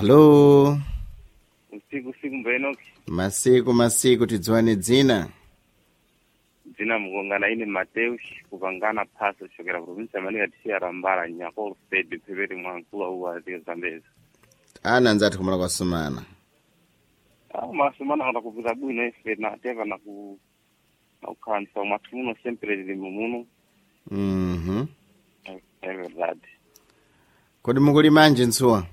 Halo. Usiku siku mbenoki. Masiku masiku, tidziwane dzina. Dzina mukongana ine Mateus kupangana phaso chokera provinsi ya tichiya rambala nyakolo state phepete mwankulu auwa zike Zambezi. Ana anzathu kumala kwasumana. Ah, masumana kana kupita bwino ife na teva na ku na kukhanisa mwathu muno sempre lili mumuno. É verdade. Kodi mukulimanje ntsuwa?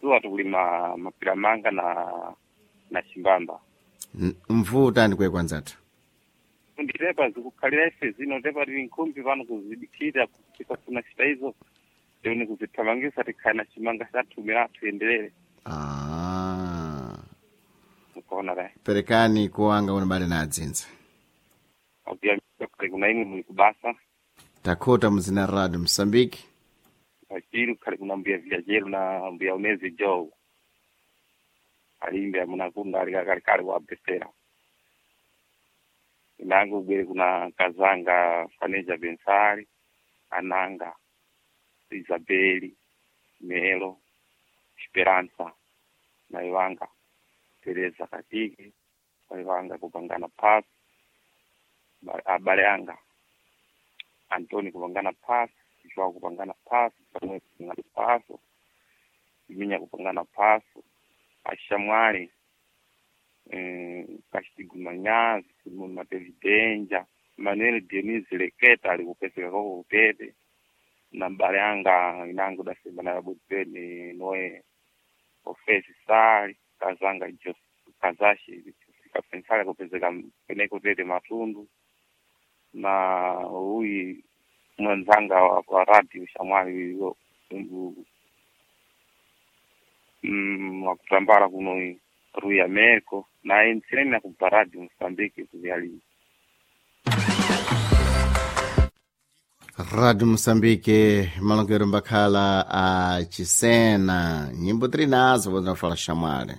Suwa tikulima mapiramanga na chimbamba. Mvuta ndikwe anzathu. Nditepa zikukhalira ife zino tepa tili nkhumbi pano kuzidikira tikafuna chita izo tione kuzithamangisa tikhale na chimanga chathu athu yenderere. Ah. Mukuona re. Perekani kuwanga unabale na adzinza. Akuyamika kuna imwe muli kubasa. Takhota muzina radio Msambiki. Pachiri kukhale kuna mbuya viajero na mbuya unezi joe. Alimbe amunakunda alikakalekale kuabesera. Inango ubwere kuna kazanga Faneja Bensari, Ananga, Isabeli, Melo, Esperanza, Naiwanga, Teresa Katiki, Naiwanga kupangana pass, abale anga, Antoni kupangana pass, Joao kupangana pass, Samuel kupangana pass, Iminya kupangana pass, Ashamwali, Kachitigu Manyazi, Simon Matevidenja, Manuel Dionis Leketa alikupeseka koko kutete na mbale anga inango dasemba na yabuteni noe ofesi sali kazanga Jos kazashi kapensali kupezeka peneko tete matundu na uyi mwenzanga wa radio shamwali wakutambala kuno Rui Americo na entsineni na kubva radio Mozambique kuvyalima. Radio Mosambike malongero mbakhala a Chisena. Nyimbo tiri nazo podzinafala shamwali.